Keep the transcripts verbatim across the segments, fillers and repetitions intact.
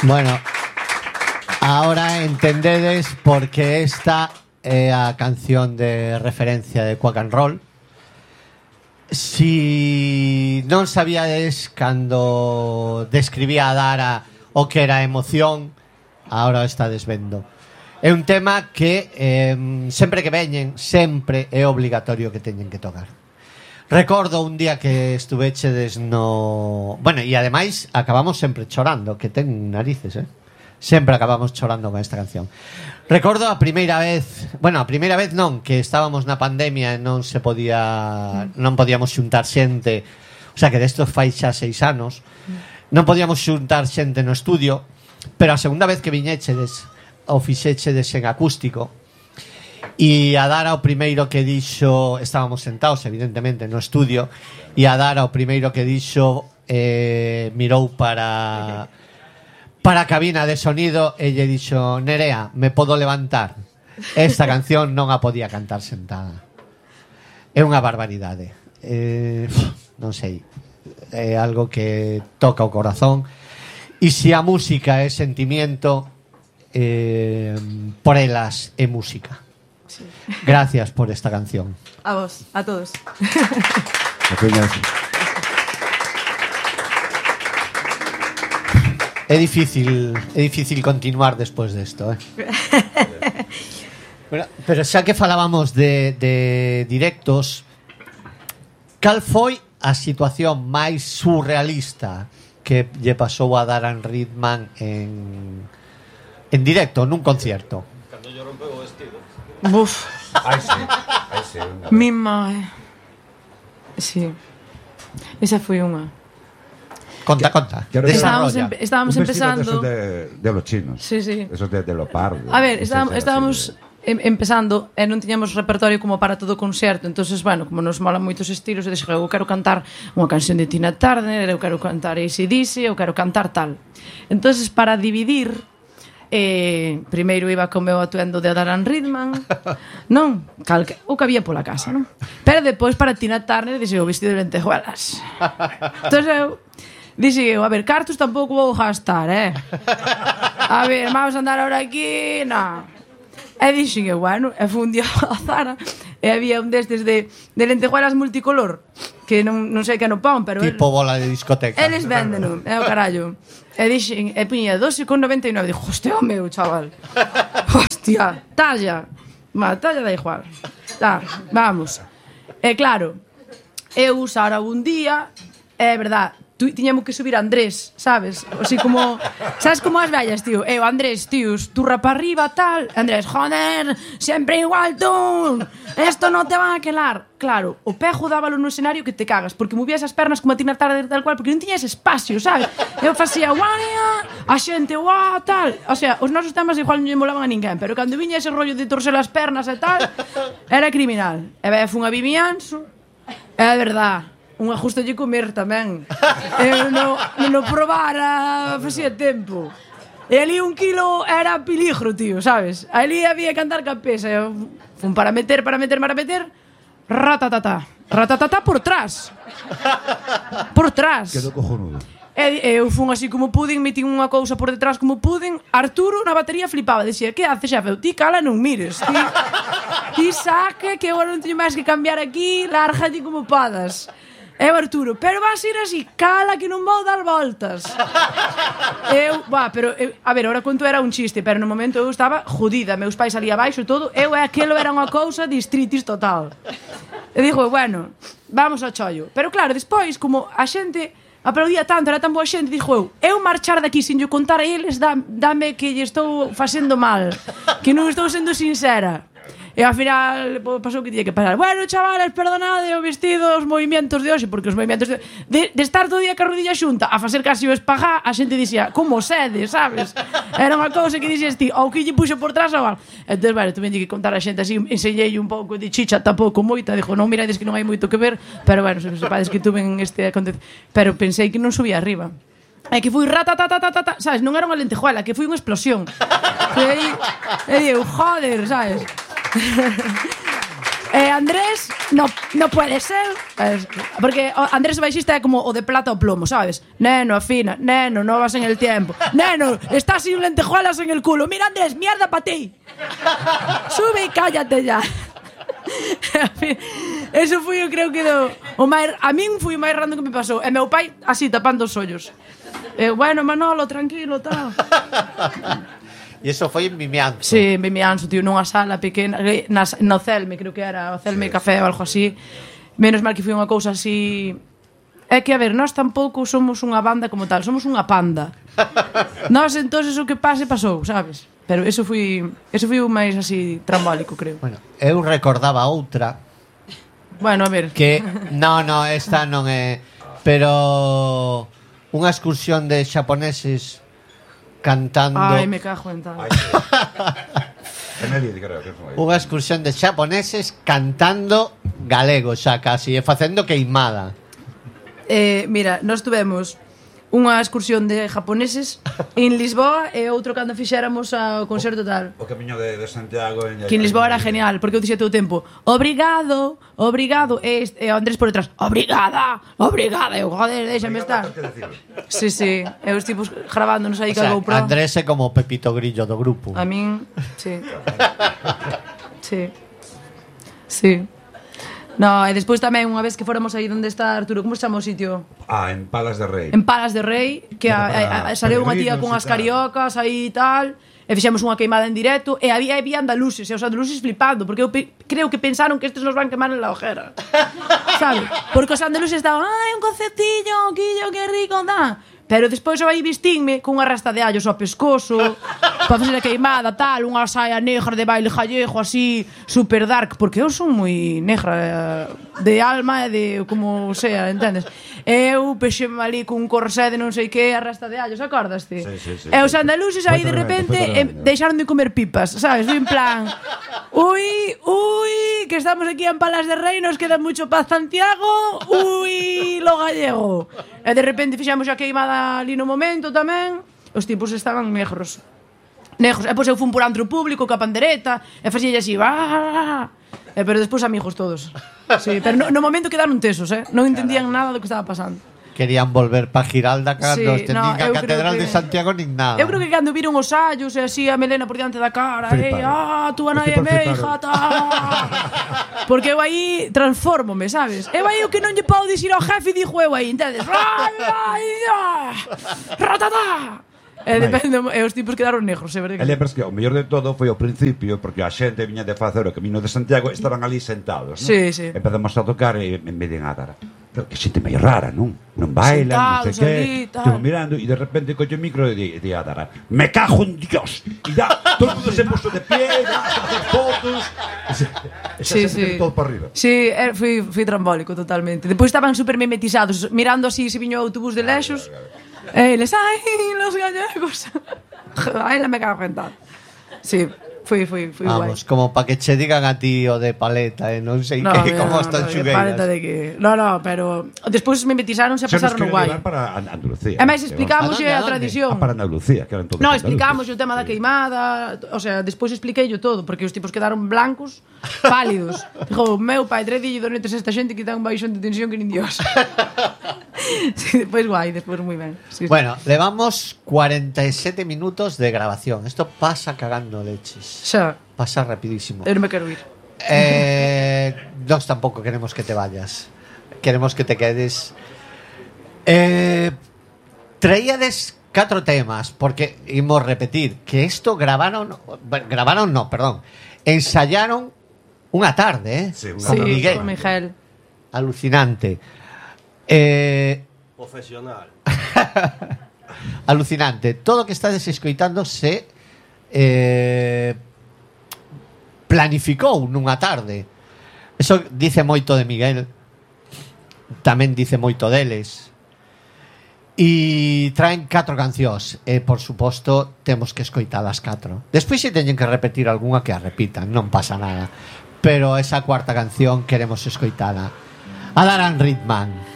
Bueno, ahora entendedes porque esta é a canción de referencia de Quack and Roll. Si non sabíades cando describía a Dara o que era emoción, ahora está desvendo. É un tema que eh, sempre que veñen, sempre é obligatorio que teñen que tocar. Recordo un día que estuvechedes no... Bueno, e ademais acabamos sempre chorando, que ten narices, eh? Sempre acabamos chorando con esta canción. Recordo a primeira vez... Bueno, a primeira vez non, que estábamos na pandemia e non se podía... Non podíamos xuntar xente. O sea, que destos fai xa seis anos. Non podíamos xuntar xente no estudio, pero a segunda vez que viñechedes o fixechedes en acústico. E a Dara o primeiro que dixo, estábamos sentados evidentemente no estudio, e a Dara o primeiro que dixo eh, mirou para para a cabina de sonido e lle dixo: Nerea, me podo levantar? Esta canción non a podía cantar sentada. É unha barbaridade, eh, non sei, é algo que toca o corazón. E se a música é sentimiento, eh, por elas é música. Sí. Gracias por esta canción. A vos, a todos. É difícil, é difícil continuar despois desto, eh. Bueno, pero xa que falábamos de, de directos, cal foi a situación máis surrealista que lle pasou a Dara Ridman en en directo, nun concierto? Cando lle rompeu o vestido. Buf. Ai, sí. Ai, sí. Mi mãe. Sí. Esa foi unha. Conta, conta. Estábamos, empe estábamos un empezando de, de los chinos. Sí, sí. Esos de, de leopardo. A ver, estábamos, estábamos em empezando e non tiñamos repertorio como para todo o concerto. Entonces, bueno, como nos molan moitos estilos, eu dixo, eu quero cantar unha canción de Tina Turner, eu quero cantar A C D C, eu quero cantar tal. Entonces, para dividir, eh, primeiro iba co meu atuendo de Dara Ridman, non? Calque, o que había pola casa, non? Pero depois para Tina Turner dixo o vestido de lentejuelas. Entón eu dixo eu, a ver, cartos tampouco vou gastar, eh? A ver, vamos a andar ahora aquí, non. E dixo eu, bueno, e foi un día a Zara e había un destes de, de lentejuelas multicolor que non, non sei que non pon, pero tipo el, bola de discoteca. Eles venden, é o carallo. E dixen, e puña doce con noventa e nove. Dixo, hostia, o meu, chaval. Hostia, talla. Ma, talla da igual. Tá, vamos. E claro, eu usara un día, é verdad, tiñamos que subir a Andrés, sabes? Así como, sabes como as vellas, tío? Eu, Andrés, tíos, turra para arriba, tal. Andrés, joder, sempre igual tú. Esto no te va a quelar. Claro, o pejo dábalo no escenario que te cagas, porque movías as pernas como a Tina Turner tal cual, porque non tiñas espacio, sabes? Eu facía, guaria, a xente, guau, tal. O sea, os nosos temas igual non lle molaban a ninguén, pero cando viña ese rollo de torcer as pernas e tal, era criminal. E vai, fun a Vivianzo, é verdad. Un ajuste de comer tamén. Eu non no probara facía tempo. E ali un kilo era peligro, tío, sabes? Ali había que andar ca pesa. Eu fun para meter, para meter, para meter. Ratatata. Ratatata por trás. Por trás. Quedou cojonudo. E eu fun así como pudin, metín unha cousa por detrás como pudin. Arturo na batería flipaba, dicía, que haces, xefe? Ti cala, non mires. Ti, ti saque, que agora non teño máis que cambiar aquí, lárgate como podas. E o Arturo, pero vas ir así, cala que non vou dar voltas. Eu, va, pero, eu, a ver, ahora conto era un chiste, pero no momento eu estaba jodida, meus pais ali abaixo e todo, eu e aquilo era unha cousa de estritis total. E digo, bueno, vamos ao chollo. Pero claro, despois, como a xente aplaudía tanto, era tan boa xente, dixo eu, eu marchar daqui sin yo contar a eles, dá, dame que lle estou facendo mal, que non estou sendo sincera. E ao final pasou que tiña que pasar. Bueno, chavales, perdonade o vestido, os movimentos de hoxe, porque os movimentos de, de, de estar todo o día ca rodilla xunta a facer casi o espagá, a xente dixía, como sede, sabes? Era unha cousa que dixes ti, ou que lle puxo por trás ou algo. Entón, bueno, tuve que contar a xente así, enseñei un pouco de chicha, tampouco moita, dixo, non mirades que non hai moito que ver, pero bueno, se sepades que tuve en este acontecimiento, pero pensei que non subía arriba. É que fui ratatatatata, sabes, non era unha lentejuela, que foi unha explosión. E aí, e digo, joder, sabes? Eh, Andrés, no, no puede ser. Es, porque o Andrés o baixista é como o de plata o plomo, ¿sabes? Neno, afina, neno, no vas en el tiempo. Neno, estás sin lentejuelas en el culo. Mira, Andrés, mierda para ti. Sube y cállate ya. Eso foi, eu creo que do, o máis, a min foi o máis random que me pasou. E meu pai así tapando os ollos. E bueno, Manolo, tranquilo, tal. E iso foi en Vimianzo. Sí, en Vimianzo, tío, nunha sala pequena, nas, no Celme, creo que era, o Celme sí, Café ou algo así. Menos mal que foi unha cousa así. É que, a ver, nós tampouco somos unha banda como tal, somos unha panda. Nós, entonces, o que pase, pasou, sabes? Pero eso foi, eso foi o máis así trambólico, creo. Bueno, eu recordaba outra. Bueno, a ver. Que, no, no, esta non é. Pero unha excursión de xaponeses cantando. Ai, me cajo en tal. Unha excursión de xaponeses cantando galego xa casi, e facendo queimada. Eh, mira, nós tuvemos unha excursión de japoneses en Lisboa e outro cando fixéramos ao concerto tal. O camiño de, de Santiago en, que en Lisboa era genial, porque eu dixía todo o tempo obrigado, obrigado, e, e Andrés por detrás, obrigada, obrigada, eu, joder, déxame estar. Sí, sí, e os tipos grabándonos aí, o sea, GoPro. Andrés é como Pepito Grillo do grupo. A min, sí. Sí. Sí. No, e despois tamén unha vez que fóramos aí onde está Arturo, como se chama o sitio? Ah, en Palas de Rei. En Palas de Rei, que a, a, a, saleu unha tía con as cariocas aí e tal, e fixemos unha queimada en directo, e había, había andaluces, e os andaluces flipando, porque eu pe, creo que pensaron que estes nos van quemar en la ojera. Sabe? Porque os andaluces estaban, ai, un concertillo, quillo, que rico, da. Pero despois eu aí vestinme cunha rasta de allos ao pescozo para fazer a queimada, tal, unha saia negra de baile gallego así, super dark, porque eu son moi negra de alma e de como sea, entendes? Eu pexeme ali cun corsé de non sei que, a rasta de allos, acordaste? Sí, sí, sí, e os andaluces aí de repente eh, deixaron de comer pipas, sabes? En plan, ui, ui, que estamos aquí en Palas de Rei, nos queda mucho para Santiago, ui, lo gallego. E de repente fixamos a queimada ali no momento tamén, os tipos estaban negros. Negros. E pois eu fun por antro público ca pandereta e facía así, ah, e pero despois amigos todos. Sí, pero no, no momento quedaron tesos, eh? Non entendían nada do que estaba pasando. Querían volver pa Giralda cando sí, este no, nin a Catedral que... de Santiago nin nada. Eu creo que cando viron os allos e así a melena por diante da cara, e ah, tú anai é meija, ta. Porque eu aí transfórmome, sabes? Eu aí o que non lle podo dicir ao jefe, dixo eu aí, entendes? Ai, ai, ai, ratata. E depende, e os tipos quedaron negros, é verdade. E lembras que o mellor de todo foi ao principio, porque a xente viña de facer o camiño de Santiago, estaban ali sentados, non? Sí, sí. Empezamos a tocar e me dicen, ah, Dara, pero que xente meio rara, non? Non bailan, non sei que. Estou mirando e de repente coño o micro e di, di a Dara, me cajo en Dios. E ya, todo o mundo se puso de pie, a hacer fotos. Sí, sí. Todo para arriba. Sí, fui, fui trambólico totalmente. Depois estaban super mimetizados, mirando así se viño o autobús de lexos. E eles, ai, los gallegos. Ai, la me cago en tal. Sí, foi, foi, foi guai. Vamos, como para que che digan a ti o de paleta, e eh, non sei no, que, no, como no, están no, xugueiras. Paleta de que... No, no, pero despois me metizaronse a pasar no guai. Para Andalucía. E máis explicamos a, a tradición. Ah, para Andalucía, que eran todos. No, explicamos o tema da queimada, o sea, despois expliquei todo, porque os tipos quedaron blancos, pálidos. Dijo, meu pai, tres dillo donetes a esta xente que dan baixón de tensión que nin Dios. Sí, despois guai, despois moi ben. Sí, bueno, sí. Levamos cuarenta y siete minutos de grabación. Esto pasa cagando leches. Xa. Pasa rapidísimo. Eu non me quero ir. Eh, nos tampouco queremos que te vayas. Queremos que te quedes. Eh, traíades catro temas, porque imos repetir que esto grabaron, grabaron no, perdón, ensayaron unha tarde, eh, sí, una con sí, Miguel. Con Miguel. Alucinante. Eh, Profesional. Alucinante. Todo o que estades escoitando se eh, planificou nunha tarde. Eso dice moito de Miguel. Tamén dice moito deles. E traen catro cancións. E, por suposto, temos que escoitar as catro. Despois se teñen que repetir algunha que a repitan, non pasa nada. Pero esa cuarta canción queremos escoitala. Adaran Ritman.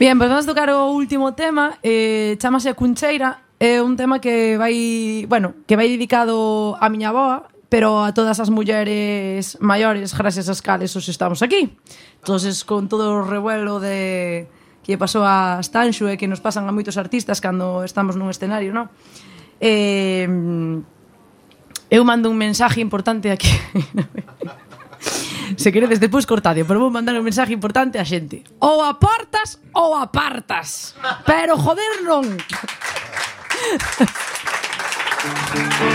Bien, pois pues vamos a tocar o último tema, eh, chamase Cuncheira, é un tema que vai, bueno, que vai dedicado á miña avoa, pero a todas as mulleres maiores gracias ás cales os estamos aquí. Entonces, con todo o revuelo de que pasou a Stanxo e que nos pasan a moitos artistas cando estamos nun escenario, non? Eh, eu mando un mensaje importante aquí. Se queredes depois cortadio, pero vou mandar un mensaje importante á xente. Ou aportas ou apartas, pero joder non.